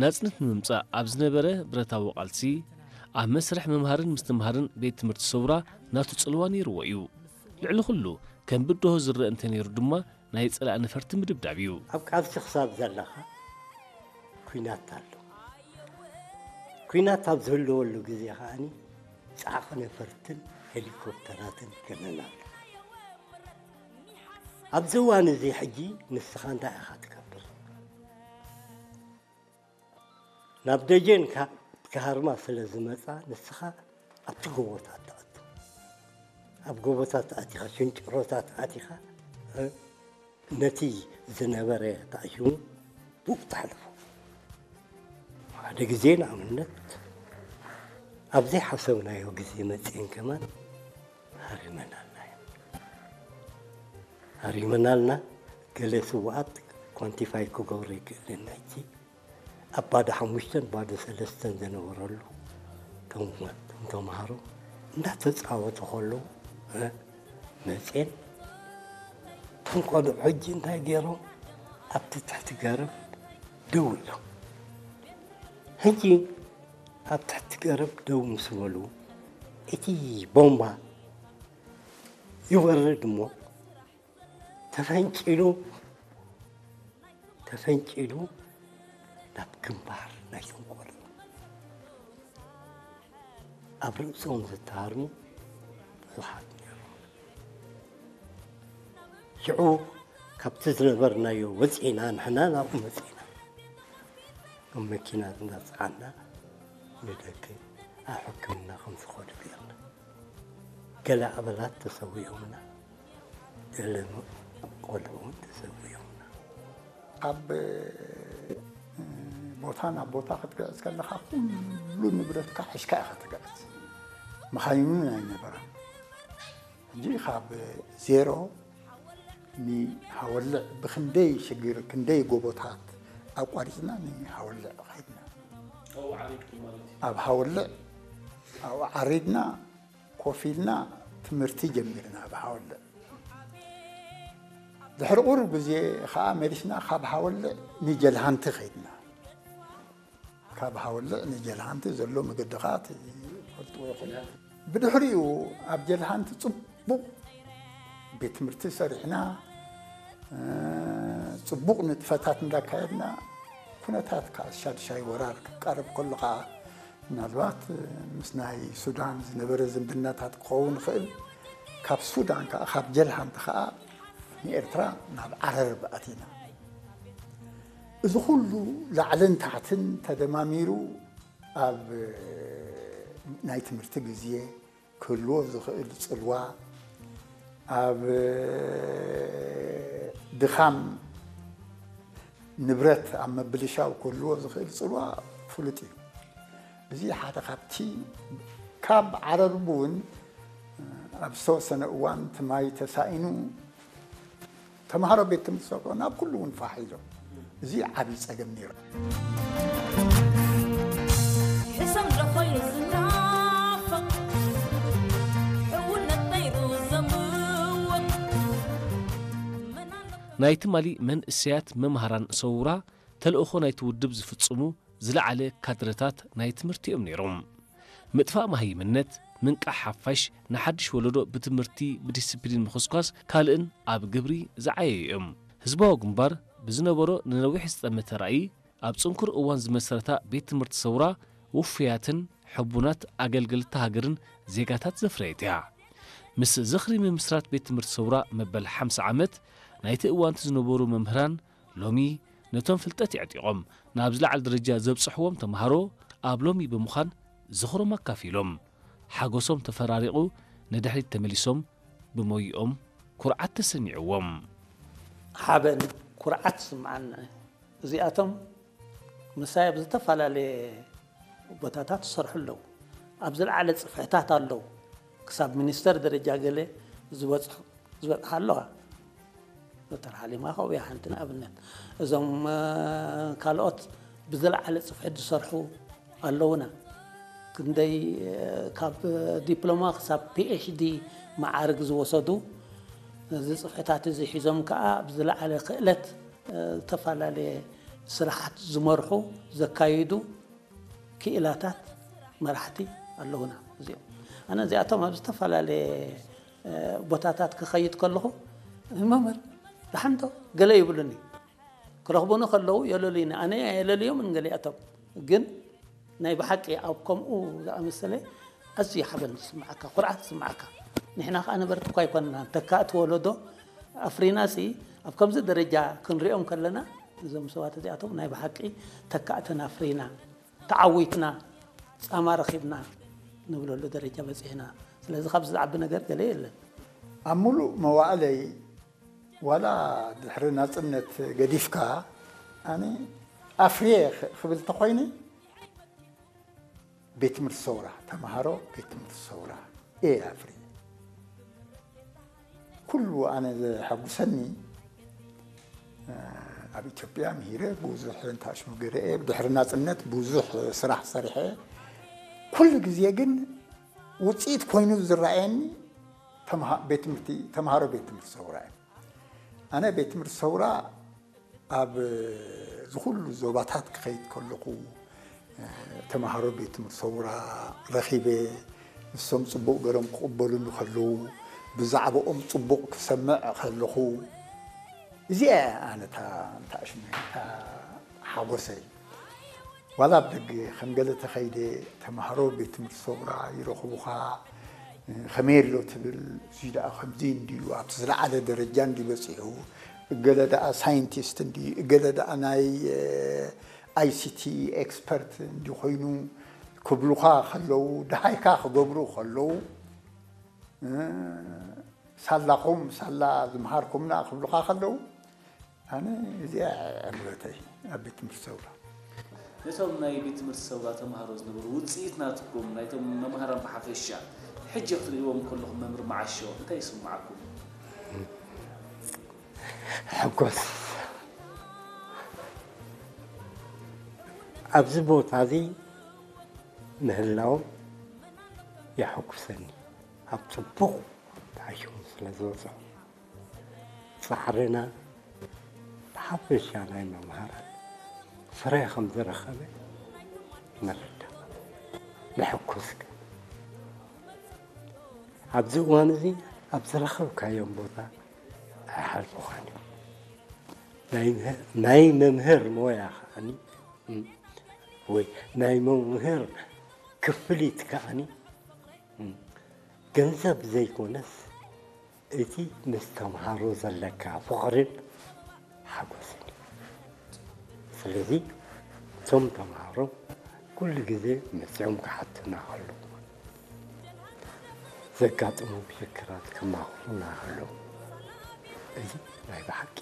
ናጽነት ንምምጻእ ኣብ ዝነበረ ብረታዊ ቃልሲ፣ ኣብ መስርሕ ምምሃርን ምስትምሃርን ቤት ትምህርቲ ሰውራ ናቱ ጽልዋ ነይርዎ እዩ። ልዕሊ ኩሉ፣ ከም ብድሆ ዝረአ እንተነይሩ ድማ፣ ናይ ጸላኢ ነፈርቲ ምድብዳብ እዩ። ኣብ ቃልሲ ክሳብ ዘለኻ፣ ኲናት ኣሎ። ኲናት ኣብ ዝህልወሉ ግዜ ከኣኒ፣ ጻዕቒ ነፈርትን ሄሊኮፕተራትን ይከነን ኣሎ። ኣብዚ እዋን እዚ ሕጂ ንስኻ እንታይ ኢኻ ትገብር? ናብ ደጀን ካብ ክሃርማ ስለ ዝመጻ፣ ንስኻ ኣብቲ ጎቦታት ትኣቱ። ኣብ ጎቦታት ኣቲኻ፣ ሽንጭሮታት ኣቲኻ፣ እ፣ ነቲ ዝነበረ ተኣሽሙ ብኡ ተሕልፎ። ሓደ ግዜ ንኣብነት ኣብ ዘይሓሰብናዮ ግዜ መጺኤን ከማን ሃሪመናልና እየን። ሃሪመናልና። ገለ ስውኣት ኳንቲፋይ ክገብሮ ይክእልን ናይቲ ኣብ ባዶ ሓሙሽተን ባዶ ሰለስተን ዝነበረሉ፣ እቶም፣ እቶም ተምሃሮ እንዳተጻወቱ ከለዉ፣ እ፣ መጼን፣ እቶም ቆልዑ ሕጂ እንታይ ገይሮም? ኣብቲ ትሕቲ ገረብ ደው ኢሎም። ሕጂ ኣብ ትሕቲ ገረብ ደው ምስ በሉ፣ እቲ ቦምባ ይወርድ እሞ፣ ተፈንጪሉ፣ ተፈንጪሉ ናብ ግንባር ናይቶም ቆልዑ። ኣብ ርእሶም ዝተሃርሙ ብዙሓት ነይሮም። ሽዑ ካብቲ ዝነበርናዮ ወጺእና፣ ንሕና ናብኡ መጺእና። ኣብ መኪና እንዳጸዓና ንደገ ኣብ ሕክምና ከም ዝኸዱ ገይርና። ገለ ኣባላት ተሰዊኦምና፣ ገለ ቆልዑ እውን ተሰዊኦምና። ካብ ቦታ ናብ ቦታ ክትግዕዝ ከለኻ፣ ኩሉ ንብረትካ ሒዝካ ኢኻ ትግዕዝ። መኻይን እውን ኣይነበረን። ሕጂ ካብ ዜሮ ንሃወልዕ ብኽንደይ ሽግር፣ ክንደይ ጎቦታት ኣቋሪፅና ንሃወልዕ ኸይድና። ኣብኡ ዓሪድኩም ማለት እዩ? ኣብ ሃወልዕ ኣብኡ ዓሪድና፣ ኮፍ ኢልና ትምህርቲ ጀሚርና ኣብ ሃወልዕ። ድሕሪ ቁሩብ ግዜ ኸዓ መሊስና ካብ ሃወልዕ ንጀልሃንቲ ኸይድና። ካብ ሃወልዕ ንጀልሃንቲ ዘሎ መገዲ ኸዓ ትፈልጥዎ ኢኹም። ብድሕሪኡ ኣብ ጀልሃንቲ ጽቡቕ ቤት ትምህርቲ ሰሪሕና፣ እ፣ ጽቡቕ ንጥፈታት እንዳካየድና፣ ኩነታት ከዓ ሻድሻይ ወራር ክቃረብ ከሎ ከዓ፣ ምናልባት ምስ ናይ ሱዳን ዝነበረ ዝምድናታት ክኸውን ይኽእል፣ ካብ ሱዳን ከዓ፣ ካብ ጀልሃንቲ ከዓ ንኤርትራ ናብ ዓረርብ ኣቲና። እዚ ኩሉ ላዕልን ታሕትን ተደማሚሩ ኣብ ናይ ትምህርቲ ግዜ ክህልዎ ዝኽእል ጽልዋ፣ ኣብ ድኻም ንብረት ኣብ ምብልሻው ክህልዎ ዝኽእል ጽልዋ ፍሉጥ እዩ። እዚ ሓደ ካብቲ፣ ካብ ዓረርብ እውን ኣብ ዝተወሰነ እዋን እቲ ማይ ተሳኢኑ ተምሃሮ ቤት ትምህርቲ ሰውራ ናብ ኩሉ እውን ፋሕ ኢሎም። እዚ ዓብዪ ጸገም ነይሩ። ሕሰም ዶ ኮይኑ ዝናፈቕ፣ ሕውነት ነይሩ ዘምወት፣ መን ኣሎ ናይ ትማሊ መንእሰያት መምሃራን ሰውራ ተልእኾ ናይቲ ውድብ ዝፍጽሙ ዝለዓለ ካድረታት ናይ ትምህርቲ እዮም ነይሮም። ምጥፋእ መሃይምነት፣ ምንቃሕ ሓፋሽ፣ ንሓድሽ ወለዶ ብትምህርቲ፣ ብዲስፕሊን ምኹስኳስ ካልእን ኣብ ግብሪ ዝዓየዩ እዮም። ህዝባዊ ግንባር ብዝነበሮ ንነዊሕ ዝጠመተ ራእይ፣ ኣብ ጽንኩር እዋን ዝመሰረታ ቤት ትምህርቲ ሰውራ ውፉያትን ሕቡናት ኣገልገልቲ ሃገርን ዜጋታት ዘፍረየት እያ። ምስ ዝኽሪ ምምስራት ቤት ትምህርቲ ሰውራ መበል ሓምሳ ዓመት ናይቲ እዋንቲ ዝነበሩ መምህራን ሎሚ ነቶም ፍልጠት የዕጢቖም ናብ ዝለዓለ ደረጃ ዘብጽሕዎም ተምሃሮ ኣብ ሎሚ ብምዃን ዝኽሮም ኣካፊሎም፣ ሓጎሶም ተፈራሪቑ ንድሕሪት ተመሊሶም ብሞይኦም ኩርዓት ተሰሚዕዎም። ሓበን፣ ኩርዓት ይስምዓና። እዚኣቶም ምሳይ ኣብ ዝተፈላለየ ቦታታት ዝሰርሑ ኣለዉ። ኣብ ዝለዓለ ጽፍሕታት ኣለዉ። ክሳብ ሚኒስተር ደረጃ ገለ ዝበጽሑ፣ ዝበጽሓ ኣለዋ። ዶክተር ሓሊማ ካብኡ እያ ሓንቲ ንኣብነት። እዞም፣ እ፣ ካልኦት ብዝለዓለ ጽፍሕት ዝሰርሑ ኣለዉና። ክንደይ፣ እ፣ ካብ ዲፕሎማ ክሳብ ፒ ኤች ዲ መዓርግ ዝወሰዱ፣ እዚ ጽፍሕታት እዚ ሒዞም ከኣ ብዝለዓለ ክእለት፣ እ፣ ዝተፈላለየ ስራሓት ዝመርሑ፣ ዘካይዱ ክኢላታት መራሕቲ ኣለዉና። እዚኦም ኣነ እዚኣቶም ኣብ ዝተፈላለየ ቦታታት ክኸይድ ከለኹ፣ መምህር ደሓንዶ ገለ ይብሉኒ። ክረኽቡኒ ከለዉ የለልዩኒ። ኣነ የለልዮም ንገሊኣቶም። ግን ናይ ብሓቂ ኣብ ከምኡ ዝኣመሰለ ኣዝዩ ሓበን ዝስምዓካ፣ ኩርዓት ዝስምዓካ። ንሕና ከኣ ነበርቲ እኳ ኣይኮንና፣ ተካእቲ ወለዶ ኣፍሪና ሲ ኣብ ከምዚ ደረጃ ክንሪኦም ከለና፣ እዞም ሰባት እዚኣቶም ናይ ብሓቂ ተካእትን ኣፍሪና፣ ተዓዊትና፣ ጻማ ረኺብና ንብለሉ ደረጃ በጺሕና። ስለዚ ካብዚ ዝዓቢ ነገር ገለ የለን። ኣብ ሙሉእ መዋእለይ ዋላ ድሕሪ ናጽነት ገዲፍካ ኣነ ኣፍርየ ክብል ተኾይነ ቤት ትምህርቲ ሰውራ ተምሃሮ ቤት ትምህርቲ ሰውራ እየ ኣፍርየ። ኩሉ ኣነ ዘሐጉሰኒ ኣብ ኢትዮጵያ ምሂረ ብዙሕ እንታሽሙ ገረኤ ድሕሪ ናጽነት ብዙሕ ስራሕ ሰሪሐ ኩሉ ግዜ ግን ውፅኢት ኮይኑ ዝረኣየኒ ቤት ትምህርቲ ተምሃሮ ቤት ትምህርቲ ሰውራ እዩ። ኣነ ቤት ትምህርቲ ሰውራ ኣብ ዝኩሉ ዞባታት ክኸይድ ከለኹ ተምሃሮ ቤት ትምህርቲ ሰውራ ረኺበ ንሶም ፅቡቕ ገሮም ክቕበሉኒ ከለዉ ብዛዕባኦም ፅቡቕ ክሰምዕ ከለኹ እዚኣ ኣነ እታ እንታሽሙ እታ ሓጎሰይ ዋላ ኣብ ደገ ከም ገለ ተኸይደ ተምሃሮ ቤት ትምህርቲ ሰውራ ይረኽቡኻ ከመይ ኣሎ ትብል እዙይ ደኣ ከምዚ እንድዩ ኣብቲ ዝለዓለ ደረጃ እንዲ በፂሑ እገለ ደኣ ሳይንቲስት እንዲ እገለ ደኣ ናይ ኣይሲቲ ኤክስፐርት እንዲ ኮይኑ ክብሉኻ ከለዉ ደሃይካ ክገብሩ ከለዉ ሳላኹም ሳላ ዝምሃርኩምና ክብሉኻ ከለዉ ኣነ እዚኣ ዕግበተይ ኣብ ቤት ትምህርቲ ሰውራ ነቶም ናይ ቤት ትምህርቲ ሰውራ ተምሃሮ ዝነበሩ ውፅኢት ናትኩም ናይቶም መምሃራን ብሓፈሻ ሕጂ ክትርእይዎም ከለኹም መምህር መዓሾ እንታይ ይስምዓኩም? ሕጎስ ኣብዚ ቦታ እዚ ምህላዎም የሐጉሰኒ ኣብ ፅቡቕ ተዓይሾም ስለ ዝወፅኦም ፃዕርና ብሓፈሻ ናይ መምሃራን ፍረ ከም ዝረኸበ ንርዳእ። ንሕኩስ ግን ኣብዚ እዋን እዚ ኣብ ዝረኸብካዮም ቦታ ኣይሓልፉኻን እዮም። ናይ መምህር ሞያ ከዓኒ ወይ ናይ መምህር ክፍሊት ከዓኒ ገንዘብ ዘይኮነስ እቲ ምስ ተምሃሮ ዘለካ ፍቕርን ሓጎስን እዩ። ስለዚ እቶም ተምሃሮ ኩሉ ግዜ መፂኦም ክሓቱና ከለዉ ዘጋጥሞም ሽግራት ከማኽሩና ከለዉ እዚ ናይ ብሓቂ